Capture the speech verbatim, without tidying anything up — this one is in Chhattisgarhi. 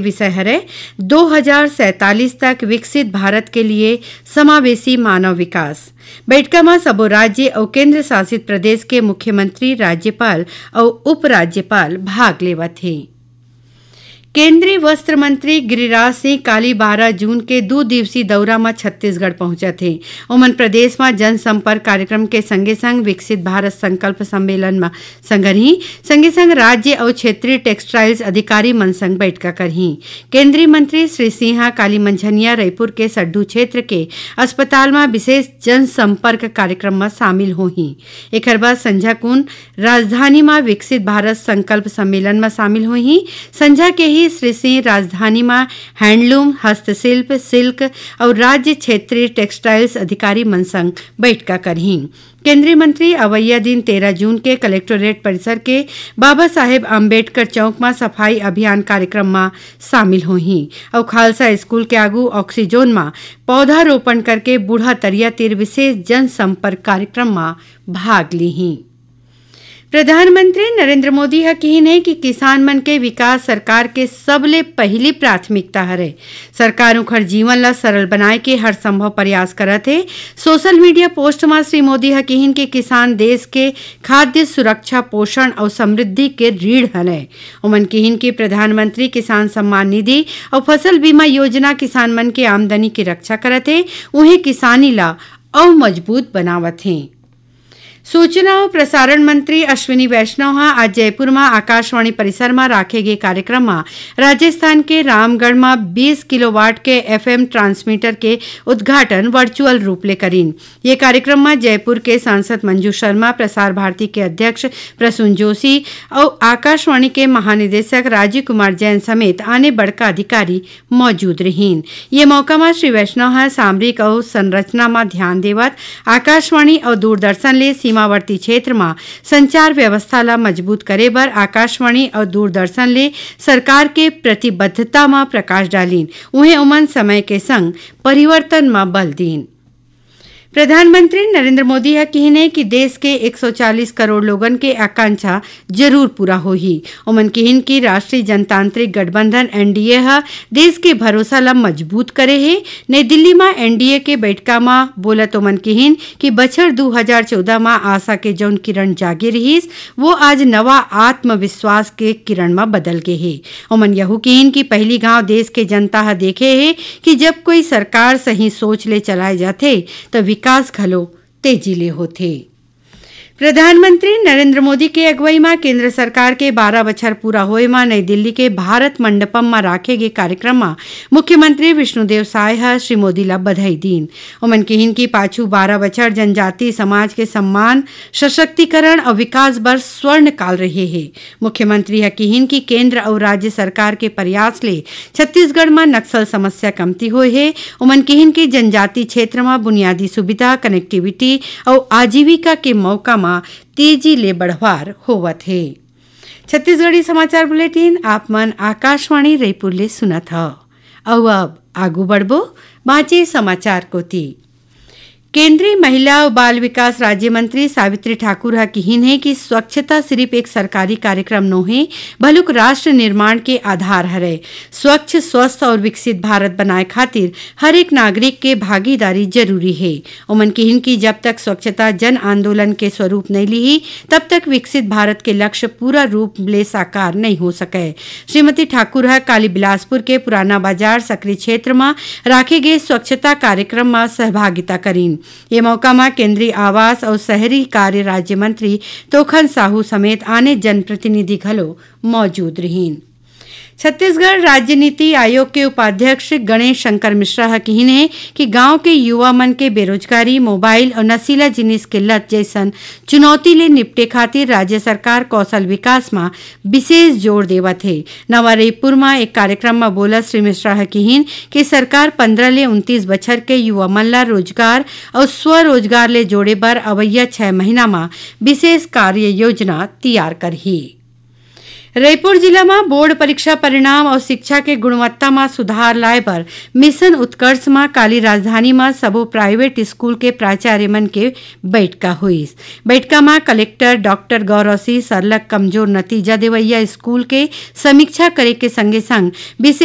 विषय हरे दो हजार सैंतालीस तक विकसित भारत के लिए समावेशी मानव विकास। बैठका म सबो राज्य अउ केंद्र शासित प्रदेश के मुख्यमंत्री, राज्यपाल अउ उपराज्यपाल भाग लेवत हे। केंद्रीय वस्त्र मंत्री गिरिराज सिंह काली बारह जून के दू दिवसीय दौरा म छत्तीसगढ़ पहुंचत हे। ओमन प्रदेश म जनसंपर्क कार्यक्रम के संगे संग विकसित भारत संकल्प सम्मेलन म संगरही, संगे संग राज्य अउ क्षेत्रीय टेक्सटाइल्स अधिकारी मन संग बैठका करही। केंद्रीय मंत्री श्री सिंह ह काली मंझनिया रईपुर के सड्डू क्षेत्र के अस्पताल म विशेष जनसंपर्क कार्यक्रम म शामिल होही। एखर बाद संझा कुन राजधानी म विकसित भारत संकल्प सम्मेलन म शामिल होही। संझा के ही श्री सिंह राजधानी म हैंडलूम, हस्तशिल्प, सिल्क अउ राज्य क्षेत्रीय टेक्सटाइल्स अधिकारी मन संग बैठका करही। केंद्रीय मंत्री अवइया दिन तेरह जून के कलेक्टोरेट परिसर के बाबा साहेब अंबेडकर चौक म सफाई अभियान कार्यक्रम म शामिल होही अउ खालसा स्कूल के आगू ऑक्सीजोन म पौधारोपण करके बूढ़ा तरिया तीर विशेष जनसंपर्क कार्यक्रम म भाग लीही। प्रधानमंत्री नरेंद्र मोदी ह किहिन हे कि किसान मन के विकास सरकार के सबले पहिली प्राथमिकता हरे। सरकार उंखर जीवन ल सरल बनाए के हर संभव प्रयास करत हे। सोशल मीडिया पोस्ट म श्री मोदी ह किहिन कि किसान देश के खाद्य सुरक्षा, पोषण अउ समृद्धि के रीढ़ हरय। ओमन किहिन कि प्रधानमंत्री किसान सम्मान निधि अउ फसल बीमा योजना किसान मन के आमदनी के रक्षा करत हे, उहें किसानी ल अउ मजबूत बनावत हे। सूचना अउ प्रसारण मंत्री अश्विनी वैष्णव ह आज जयपुर म आकाशवाणी परिसर म राखे गे कार्यक्रम म राजस्थान के रामगढ़ म बीस किलोवाट के एफएम ट्रांसमीटर के उद्घाटन वर्चुअल रूप ले करीन। ये कार्यक्रम म जयपुर के सांसद मंजू शर्मा, प्रसार भारती के अध्यक्ष प्रसून जोशी अउ आकाशवाणी के महानिदेशक राजीव कुमार जैन समेत आने बड़का अधिकारी मौजूद रहिन। ये मौका म श्री वैष्णव ह सामरिक अवसंरचना म ध्यान देवत आकाशवाणी अउ दूरदर्शन ले सीमावर्ती क्षेत्र म संचार व्यवस्था ल मजबूत करे बर आकाशवाणी अउ दूरदर्शन ले सरकार के प्रतिबद्धता म प्रकाश डालिन। उहें ओमन समय के संग परिवर्तन म बल दीन। प्रधानमंत्री नरेंद्र मोदी ह किहिन हे कि देश के एक सौ चालीस करोड़ लोगन के आकांक्षा जरूर पूरा होही। ओमन किहिन कि राष्ट्रीय जनतांत्रिक गठबंधन, एनडीए, ह देश के भरोसा ल मजबूत करे हे। नई दिल्ली म एनडीए के बैठका म बोलत ओमन किहिन कि बछर दू हजार चौदह म आशा के जौन किरण जागे रिहिस, वो आज नवा आत्मविश्वास के किरण म बदल गे हे। ओमन यहू किहिन कि पहिली घांव देश के जनता ह देखे हे कि जब कोई सरकार सही सोच ले चलाए जाथे, त विकास घलो तेजी ले होथे। प्रधानमंत्री नरेंद्र मोदी के अगुवई म केंद्र सरकार के बारह बछर पूरा होए म नई दिल्ली के भारत मंडपम म राखे गे कार्यक्रम म मुख्यमंत्री विष्णुदेव साय ह श्री मोदी ल बधाई दीन। ओमन किहिन कि पाछू बारह बछर जनजाति समाज के सम्मान, सशक्तिकरण अउ विकास बर स्वर्ण काल रहे हे। मुख्यमंत्री ह किहिन कि केंद्र अउ राज्य सरकार के प्रयास ले छत्तीसगढ़ म नक्सल समस्या कमती होए हे। ओमन किहिन कि जनजाति क्षेत्र म बुनियादी सुविधा, कनेक्टिविटी अउ आजीविका के मौका म तेजी ले बढ़वार होवत हे। छत्तीसगढ़ी समाचार बुलेटिन आप मन आकाशवाणी रईपुर ले सुनत हव। अउ अब आगू बढ़बो बांचे समाचार कोति। केंद्रीय महिला अउ बाल विकास राज्य मंत्री सावित्री ठाकुर ह किहिन हे कि स्वच्छता सिरिफ एक सरकारी कार्यक्रम नोहे, भलुक राष्ट्र निर्माण के आधार हरय। स्वच्छ, स्वस्थ अउ विकसित भारत बनाए खातिर हर एक नागरिक के भागीदारी जरूरी हे। ओमन किहिन कि जब तक स्वच्छता जन आंदोलन के स्वरूप नइ लिही, तब तक विकसित भारत के लक्ष्य पूरा रूप ले साकार नइ हो सकय। श्रीमती ठाकुर ह काली बिलासपुर के पुराना बाजार सकरी क्षेत्र म राखे गे स्वच्छता कार्यक्रम म सहभागिता करीन। ये मौका म केंद्रीय आवास अउ शहरी कार्य राज्य मंत्री तोखन साहू समेत आने जनप्रतिनिधि घलो मौजूद रहिन। छत्तीसगढ़ राज्य नीति आयोग के उपाध्यक्ष गणेश शंकर मिश्रा ह किहिन हे कि गांव के युवा मन के बेरोजगारी, मोबाइल अउ नशीला जिनिस के लत जइसन चुनौती ले निपटे खातिर राज्य सरकार कौशल विकास म विशेष जोर देवत हे। नवा रईपुर म एक कार्यक्रम म बोलत श्री मिश्रा ह किहिन कि सरकार पंद्रह ले उनतीस बछर के युवा मन ल रोजगार अउ स्वरोजगार ले जोड़े बर अवइया छह महीना म विशेष कार्य योजना तियार करही। रईपुर जिला म बोर्ड परीक्षा परिणाम अउ शिक्षा के गुणवत्ता म सुधार लाए बर मिशन उत्कर्ष म काली राजधानी म सबो प्राइवेट स्कूल के प्राचार्य मन के बैठका होइस। बैठका म कलेक्टर डॉक्टर गौरव सिंह सरलग कमजोर नतीजा देवइया स्कूल के समीक्षा करे के संगे संग विशेष